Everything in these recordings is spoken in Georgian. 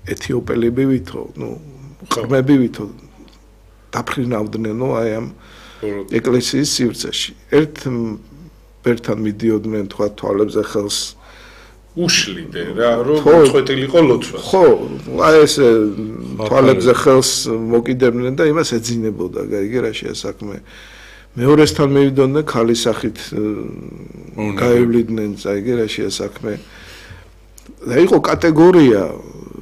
ეთიოპელები ვითო, ყრმები ვითო დაფრინავდნენ აი ამ ეკლესიის სივრცეში. ერთთან მიდიოდნენ თქვა თვალებზე ხელს უშლიდე რა, რომ წვეტილიყო ლოცვა. ხო, აი ეს თვალებზე ხელს მოკიდებდნენ და იმას ეძინებოდა, გაიგე რა შეასაქმე. მეორესთან მივიდოდნენ ქალის სახით გაევლიდნენ, გაიგე რა შეასაქმე. და იყო კატეგორია,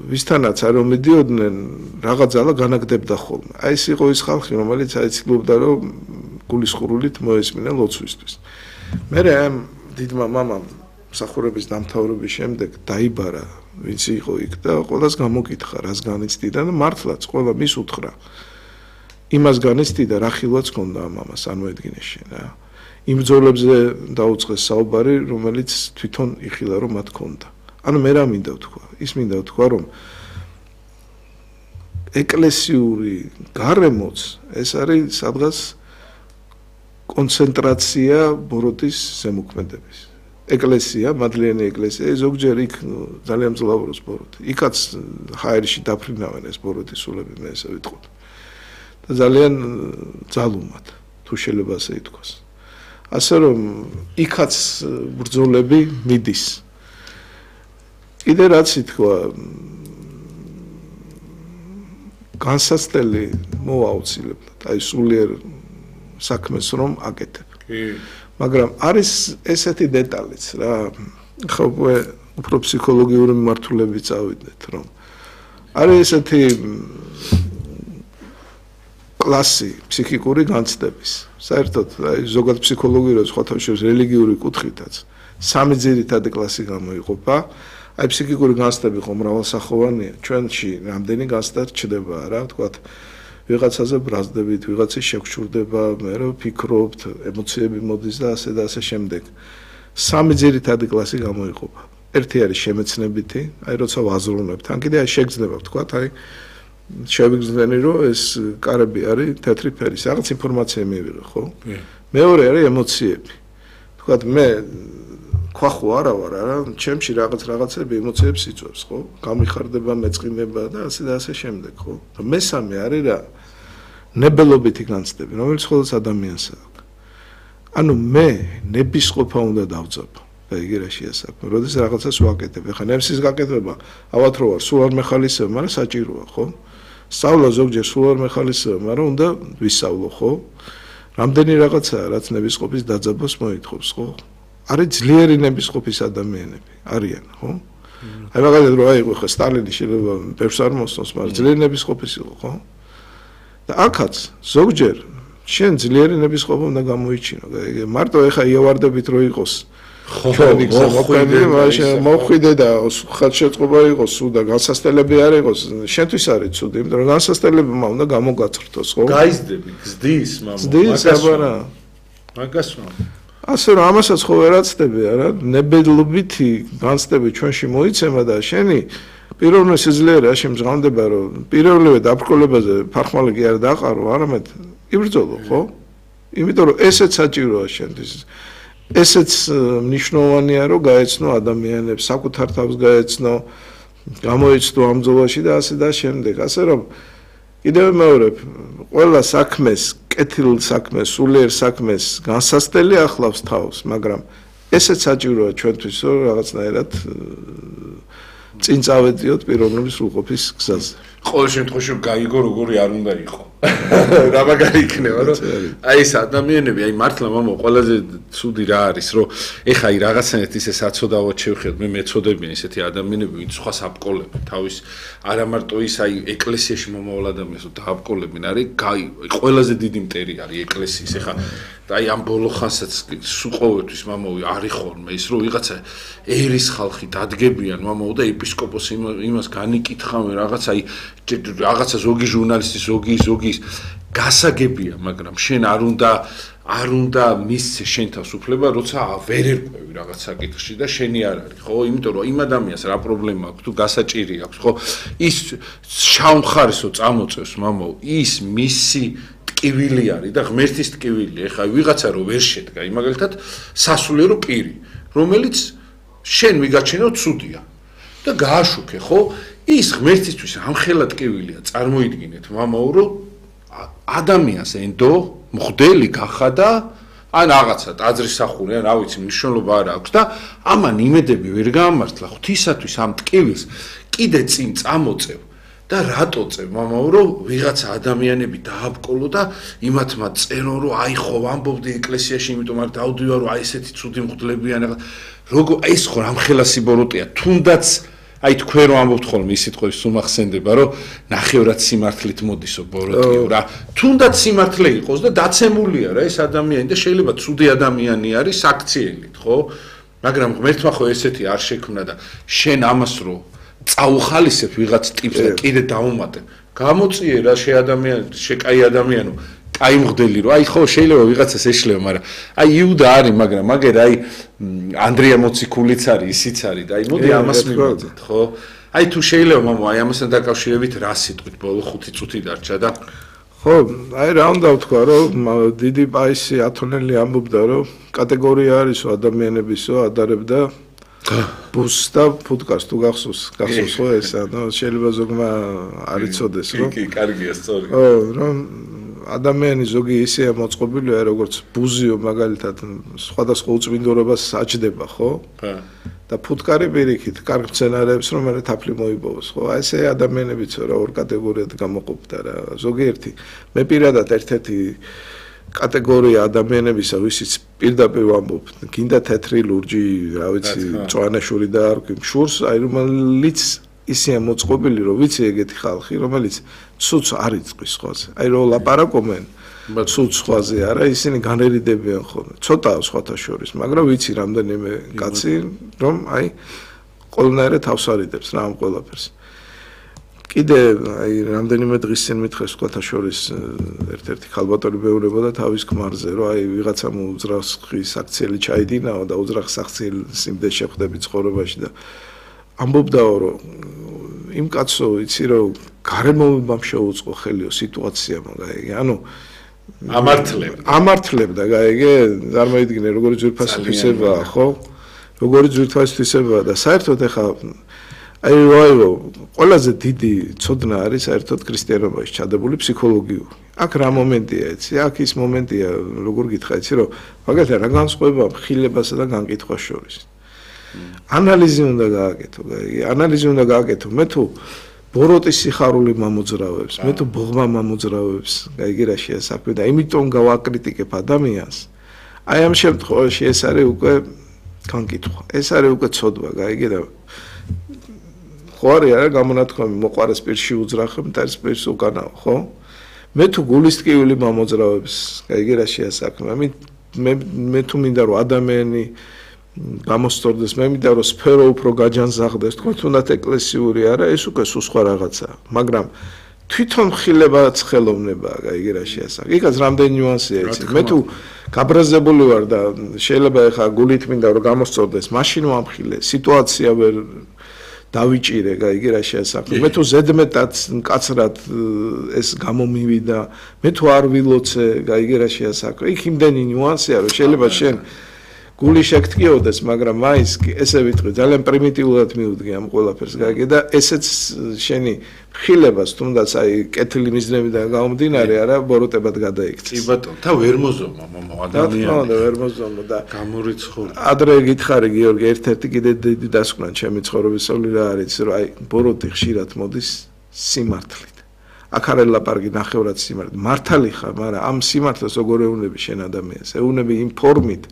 ვისთანაც არ მიდიოდნენ, რაღაც ძალა განაგდებდა ხოლმე. აი ეს იყო ის ხალხი, რომელიც აიცილობდა, რომ გულისხმრულით მოესმინა ლოცვისთვის. მე ამ დიდმა მამამ მსახურების დამთავრების შემდეგ დაიბარა, ვინც იყო იქ და ყველას გამოკითხა, რას განიცდიდა და მართლაც ყველა მის უთხრა. იმას განიცდიდა, რა ხილვაც ჰქონდა ამ მამას, წარმოედგინე შენ რა. იმ ბრძოლებზე დაუწყეს საუბარი, რომელიც თვითონ იხილა, რომ მათ ჰქონდა. ანუ მე რა მინდა ვთქვა? ის მინდა ვთქვა, რომ ეკლესიური გარემოც ეს არის სადღაც კონცენტრაცია ბოროტის ზემოქმედების. ეკლესია, მადლიანი ეკლესია, ზოგჯერ იქ ძალიან მძლავრობს ბოროტი. იქაც ჰაერში დაფრინავენ ეს ბოროტის სულები, მე ესე ვიტყოდ. და ძალიან ძალუმად, თუ შეიძლება ასე ითქვას. ასე რომ იქაც ბრძოლები მიდის. კიდე რაც ითქვა, განსაცდელი მოვა აუცილებლად, აი სულიერ საქმეს რომ აკეთებ. მაგრამ არის ესეთი დეტალიც რა, ხო უფრო ფსიქოლოგიური მიმართულებით წავიდეთ, რომ არის ესეთი კლასი ფსიქიკური განცდების. საერთოდ აი ზოგად ფსიქოლოგიურად სხვათა შორის რელიგიური კუთხითაც სამი ძირითადი კლასი გამოიყოფა. აი ფსიქიკური განცდები ხო მრავალსახოვანია. ჩვენში რამდენი განცდა ჩდება რა, ვთქვათ, ვიღაცაზე ბრაზდებით, ვიღაცის შეგშურდება, მე რა ვფიქრობთ, ემოციები მოდის და ასე შემდეგ. სამი ძირითადი კლასი გამოიყოფა. ერთი არის შემეცნებითი, აი როცა ვაზრუნებთ, ან კიდე შეგრძნება, ვთქვათ, აი შევიგრძნენი, რომ ეს კარები არის თეთრი ფერის, რაღაც ინფორმაცია მივიღე, ხო? მეორე არის ემოციები. ვთქვათ, მე ქვახო არა ვარ, არა, ჩემში რაღაცები ემოციებს იწვევს, ხო? გამიხარდება, მეწყინება და ასე შემდეგ, ხო? მესამე არის რა? ნებელობითი განცდები, რომელიც მხოლოდ ადამიანს აქვს. ანუ მე ნებისყოფა უნდა დავწაფო. და იგი რა შეასაქმე, როდის რაღაცას ვაკეთებ. ეხლა ნებსის გაკეთება, ალბათ რო ვარ, სულ არ მეხალისება, მაგრამ საჭიროა, ხო? სწავლა ზოგჯერ სულ არ მეხალისება, მაგრამ უნდა ვისწავლო, ხო? რამდენი რაღაცაა, რაც ნებისყოფის დაძაბვას მოითხოვს, ხო? არის ძლიერი ნებისყოფის ადამიანები, არიან, ხო? აი მაგალითად რო აიღო ხა სტალინი შეიძლება ბევრს არ მოსწონს, მაგრამ ძლიერი ნებისყოფის იყო, ხო? და აქაც ზოგჯერ შენ ძლიერი ნებისყოფა უნდა გამოიჩინო, მარტო ეხა იავარდებით რო იყოს ჩვენი გზა მოყვანილი, მაგრამ მოხვიდე და ხალხშეწყობა იყოს სულ და განსასწრებელი არ იყოს, შენთვის არის ცუდი, იმიტომ რომ განსასწრებლებმა უნდა გამოგაწრთოს, ხო? გაიზდები, გზდის, მამა, გზდის, აბარა. მაგას ასე რომ ამასაც ხო ვერ აცდები, არა? ნებელობითი განცდები ჩვენში მოიცემა და შენი პირველი სიძლიერე რა შემჟღავნდება, რომ პირველივე დაბრკოლებაზე ფარხმალი კი არ დაყარო, არამედ იბრძოლო, ხო? იმიტომ რომ ესეც საჭიროა შენთვის. ესეც მნიშვნელოვანია, რომ გაეცნო ადამიანებს, საკუთარ თავს გაეცნო, გამოიცნო ამ ბრძოლაში და ასე და შემდეგ. ასე რომ კიდევ მეორებ, ყველა საქმეს, კეთილ საქმეს, სულიერ საქმეს განსაცდელი ახლავს თავს, მაგრამ ესეც საჭიროა ჩვენთვის, რომ რაღაცნაირად წინ წავედიოთ პიროვნების სრულყოფის გზაზე. ყოველ შემთხვევაში გაიგო როგორი არ უნდა იყო. რა მაგარი იქნება, რომ აი ეს ადამიანები, აი მართლა მამა ყველაზე ცუდი რა არის, რომ ეხა აი რაღაცნაირად ისე საწოდავად შევხედოთ, მე მეწოდებიან ისეთი ადამიანები, ვინც სხვას აბკოლებენ, თავის არა მარტო ის აი ეკლესიაში მომავალ ადამიანს დააბკოლებენ, არის ყველაზე დიდი მტერი არის ეკლესიის. ეხა აი ამ ბოლო ხანსაც სულ ყოველთვის მამოვი არის ხოლმე ის, რომ ვიღაცა ერის ხალხი დადგებიან მამოვ და ეპისკოპოსი იმას განიკითხავენ რაღაც აი რაღაცა ზოგი ჟურნალისტი ზოგი გასაგებია, მაგრამ შენ არ უნდა მისცე შენ თავს უფლება, როცა ვერ ერკვევი რაღაც საკითხში და შენი არ არის, ხო? იმიტომ რომ იმ ადამიანს რა პრობლემა აქვს, თუ გასაჭირი აქვს, ხო? ის შავმხარისო წამოწევს მამაო, ის მისი ტკივილი არის და ღმერთის ტკივილი. ეხლა ვიღაცა რო ვერ შედგა, მაგალითად სასულიერო პირი, რომელიც შენ ვიგაჩენო ცუდია და გააშუქე, ხო? ის ღმერთისთვის ამხელა ტკივილია, წარმოიდგინეთ, მამაო, რომ ადამიანს ენდო მღვდელი გახადა, ან რაღაცა ტაძრის სახური, ან რა ვიცი, მნიშვნელობა არ აქვს და ამან იმედები ვერ გაამართლა ღვთისათვის ამ ტკივილს კიდე წინ წამოწევ და რატო წევ, მამაო, რომ ვიღაცა ადამიანები დააბკოლო და იმათმა წერო, რომ აი ხო ვამბობდი ეკლესიაში, იმიტომ არ დავდივარ, რომ აი ესეთი ცუდი მღვდლებიან, როგორ აი ეს ხო რამხელა სიბოროტეა, თუნდაც აი თქვენ რომ ამბობთ ხოლმე ის სიტყვები სულ მახსენდება, რომ ნახევრად სიმართლით მოდისო ბოროტიო რა. თუნდაც სიმართლე იყოს და დაცემულია რა ეს ადამიანი და შეიძლება ცუდი ადამიანი არის აქციელით, ხო? მაგრამ ღმერთმა ხო ესეთი არ შექმნა და შენ ამას რო წაუხალისებ ვიღაც ტიპს და კიდე დაუმატებ. გამოწიე რა შე ადამიანი, შე კაი ადამიანო, კაი მღვდელი რო. აი ხო შეიძლება ვიღაცას ეშლება, მაგრამ აი იუდა არის, მაგრამ მაგერ აი ანდრია მოციქულიც არის, ისიც არის და აი მოდი ამას მივაძეთ, ხო? აი თუ შეიძლება მამო, აი ამასთან დაკავშირებით რა სიტყვით ბოლო 5 წუთი დარჩა და ხო, აი რა უნდა ვთქვა, რომ დიდი პაისი ათონელი ამბობდა, რომ კატეგორია არისო ადამიანებისო, ადარებდა ბუსს და ფუტკარს თუ გახსოვს ხო ეს, ანუ შეიძლება ზოგმა არ იცოდეს, რომ კი, კარგია, სწორი. ხო, რომ ადამიანი ზოგი ისეა მოწყობილია, როგორც ბუზიო მაგალითად სხვადასხვა უწმინდურობას აჭდება, ხო? და ფუტკარი პირიქით, კარგ მცენარეებს რომ მე თაფლი მოიპოვოს, ხო? აი ესე ადამიანებიც რა ორ კატეგორიად გამოყოფდა რა. ზოგიერთი მე პირადად ერთ-ერთი კატეგორია ადამიანებისა, ვისიც პირდაპირ ვამბობ, გინდა თეთრი ლურჯი, რა ვიცი, მწვანეშური და არ ვქიმ შურს, აი რომელიც ისეა მოწყობილი, რომ ვიცი ეგეთი ხალხი, რომელიც ცუც არ იწყვის ხოლმე. აი რომ ლაპარაკობენ ცუც ხვაზე არა, ისინი განერიდებიან ხოლმე. ცოტაა სხვათა შორის, მაგრამ ვიცი რამდენიმე კაცი, რომ აი ყველანაირად თავს არიდებს რა ამ ყველაფერს. კიდე აი რამდენიმე დღის წინ მითხეს სხვათა შორის ერთ-ერთი ხალბატონი მეუბნებოდა თავის ქმარზე, რომ აი ვიღაცამ უძრახის აქციელი ჩაიდინაო და უძრახის აქციელის იმდენ შეხვდები ცხოვრებაში და ამბობდაო, რომ იმ კაცო იცი რომ გარემოებამ შეუწყო ხელიო სიტუაცია მაგაი, ანუ ამართლებდა, გაიგე, წარმოიდგინე როგორი ძვირფასი თვისებაა, ხო? როგორი ძვირფასი თვისებაა და საერთოდ ეხა აი ყველაზე დიდი ცოდნა არის საერთოდ ქრისტიანობაში ჩადებული ფსიქოლოგიური. აქ რა მომენტია, იცი? აქ ის მომენტია, როგორ გითხრა, იცი რომ მაგალითად რა განსხვავება მხილებასა და განკითხვას შორის. ანალიზი უნდა გააკეთო, გაიგე, ანალიზი უნდა გააკეთო. მე თუ ბოროტის სიხარული მამოძრავებს, მე თუ ბოღმა მამოძრავებს, გაიგე რა შეა საქმე და იმიტომ გავაკრიტიკებ ადამიანს. აი ამ შემთხვევაში ეს არის უკვე განკითხვა. ეს არის უკვე ცოდვა, გაიგე და ხო არის არა გამონათქვამი მოყარეს პირში უძრახებ, მტარის პირს უკანაო, ხო? მე თუ გულისტკივილი მამოძრავებს, გაიგე რა შეა საქმე. მე თუ მინდა რომ ადამიანი გამოსწორდეს, მე მინდა რომ სფერო უფრო გაჯანზაღდეს, თქო თუნდაც ეკლესიური არა, ეს უკვე სულ სხვა რაღაცაა, მაგრამ თვითონ ხილებაც ხელოვნებაა, გაიგე რა შეა საქმე. იქაც რამდენი ნიუანსია იცი. მე თუ გაბრაზებული ვარ და შეიძლება ეხა გულით მინდა რომ გამოსწორდეს, მაშინ ვამხილე, სიტუაცია ვერ დავიჭირე, გაიგე რა შეა საქმე. მე თუ ზედმეტად მკაცრად ეს გამომივიდა, მე თუ არ ვილოცე, გაიგე რა შეა საქმე. იქ იმდენი ნიუანსია, რომ შეიძლება შენ გული შეგტკიოდეს, მაგრამ მაინც ესე ვიტყვი, ძალიან პრიმიტიულად მივუდგე ამ ყველაფერს, გაიგე და ესეც შენი ხილებას თუნდაც აი კეთილი მიზნებიდან გამომდინარე, არა ბოროტებად გადაიქცეს. კი ბატონო, და ვერ მოზომა მომო ადამიანი. და ვერ მოზომა და გამორიცხული. ადრე გითხარი გიორგი, ერთ-ერთი კიდე დიდი დასკვნა ჩემი ცხოვრებისეული რა არის, რომ აი ბოროტი ხშირად მოდის სიმართლით. აქ არ ელაპარაკი ნახევრად სიმართლით. მართალი ხარ, მაგრამ ამ სიმართლეს როგორ ეუნები შენ ადამიანს? ეუნები იმ ფორმით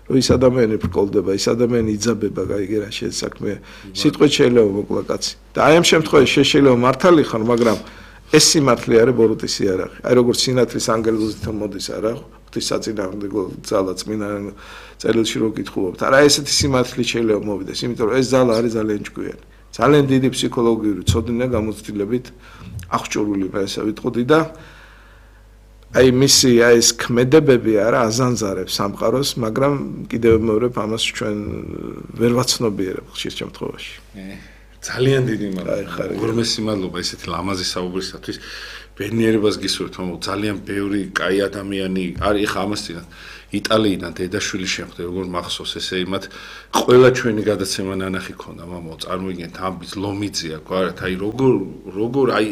რომ ის ადამიანი ბრკოლდება, ის ადამიანი იძაბება, გაიგე რა შესაქმეა. სიტყვით შეიძლება მოკლა კაცი. და აი ამ შემთხვევაში შეიძლება მართალი ხარ, მაგრამ ეს სიმართლე არის ბოროტის იარაღი. აი როგორც სინათლის ანგელოზითო მოდის არა, ღვთისაწინააღმდეგო ძალა წმინდა წერილში რო გითხულობთ. არა ესეთი სიმართლე შეიძლება მოვიდეს, იმიტომ რომ ეს ძალა არის ძალიან ჭკვიანი. ძალიან დიდი ფსიქოლოგიური ცოდნა გამოცდილებით აღჭურვილი მე ესე ვიტყოდი და აი მისი აი ეს ქმედებები არა აზანზარებს სამყაროს, მაგრამ კიდევ მეორებ ამას ჩვენ ვერ ვაცნობიერებ ხშირ შემთხვევაში. ძალიან დიდი მადლობა. უღრმესი მადლობა ესეთი ლამაზი საუბრისათვის. ბედნიერებას გისურვებთ, მამო, ძალიან ბევრი კაი ადამიანი არის ხა ამას წინათ. იტალიიდან დედაშვილი შემხდე, როგორ მახსოვს ესე იმათ ყველა ჩვენი გადაცემა ნანახი ქონდა, მამო, წარმოვიდგენთ ამბიც ლომიძია, გვარად, აი როგორ აი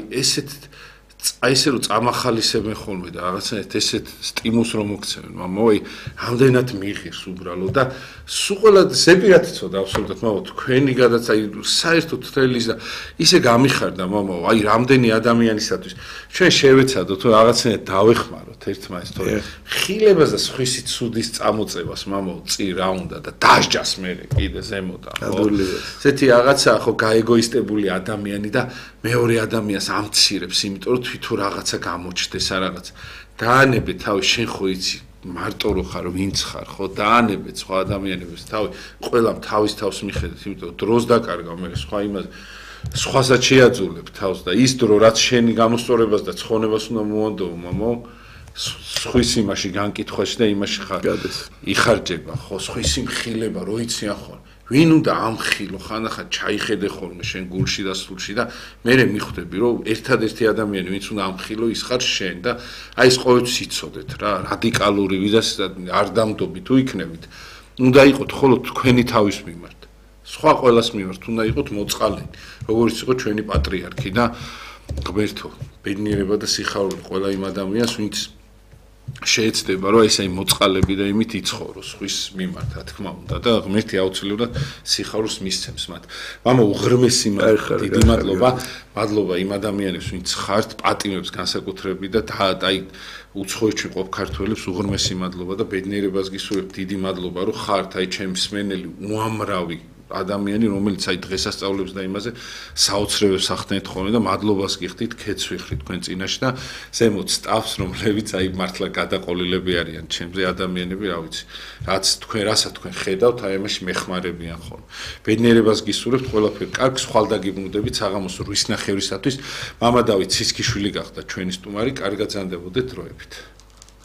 ესე რომ წამახალისებენ ხოლმე და რაღაცნაირად ესეთ სტიმულს რომ მოგცემენ, მამო, აი ამდენად მიიღებს უბრალოდ და სულ ყველა ზეპირად იცოდა აბსოლუტურად, მამო, თქვენი გადაც აი საერთოდ თრელის და ისე გამიხარდა, მამო, აი რამდენი ადამიანისათვის ჩვენ შევეცადოთ თუ რაღაცნაირად დავეხმაროთ ერთმანეთს, თორე ხილებას და სხვისი ცუდის წამოწევას, მამო, წი რა უნდა და დასჯას მე კიდე ზემოდან, ხო? ესეთი რაღაცა ხო გაეგოისტებული ადამიანი და მეორე ადამიანს ამცირებს, იმიტომ რომ თვითონ რაღაცა გამოჩნდეს რა რაღაცა. დაანებე თავი შენ ხო იცი მარტო რო ხარ, ვინც ხარ, ხო? დაანებე სხვა ადამიანებს თავი, ყველამ თავის თავს მიხედეთ, იმიტომ რომ დროს დაკარგავ მე სხვა იმას სხვასაც შეაძულებ თავს და ის დრო რაც შენი გამოსწორებას და ცხონებას უნდა მოანდო, მამო, სხვის იმაში განკითხვაში და იმაში ხარ. იხარჯება, ხო, სხვისი მხილება რო იციან ხოლმე. ვინ უნდა ამხილო, ხანახა ჩაიხედე ხოლმე შენ გულში და სულში და მე მიხვდები რომ ერთადერთი ადამიანი ვინც უნდა ამხილო ის ხარ შენ და აი ეს ყოველთვის იცოდეთ რა რადიკალური ვიზას არ დამდობი თუ იქნებით უნდა იყოთ ხოლო თქვენი თავის მიმართ სხვა ყველას მიმართ უნდა იყოთ მოწყალენი როგორც იყო ჩვენი პატრიარქი და ღმერთო ბედნიერება და სიხარული ყველა იმ ადამიანს ვინც შეეცდება რომ ესე მოწყალები და იმით იცხოვროს ხვის მიმართ რა თქმა უნდა და ღმერთი აუცილებლად სიხარულს მისცემს მათ. მამო უღრმესი დიდი მადლობა იმ ადამიანებს ვინც ხართ პატიმებს განსაკუთრებით და აი უცხოეთში ყოფ ქართველებს უღრმესი მადლობა და ბედნიერებას გისურვებთ დიდი მადლობა რომ ხართ აი ჩემი მსმენელი უამრავი ადამიანი რომელიც აი დღესასწაულებს და იმაზე საოცრებებს ახდენთ ხოლმე და მადლობას გიხდით ქეც ვიხდით თქვენ წინაშე და ზემოთ სტაფს რომლებიც აი მართლა გადაყოლილები არიან ჩემზე ადამიანები რა ვიცი რასაც თქვენ ხედავთ აი ამაში მეხმარებიან ხოლმე ბედნიერებას გისურვებთ ყველაფერი კარგს ხვალდაგიბნუდებით საღამოს 8 ნახევრისათვის მამა დავით ცისქიშვილი გახდა ჩვენი სტუმარი კარგად ზანდებოდეთ დროებით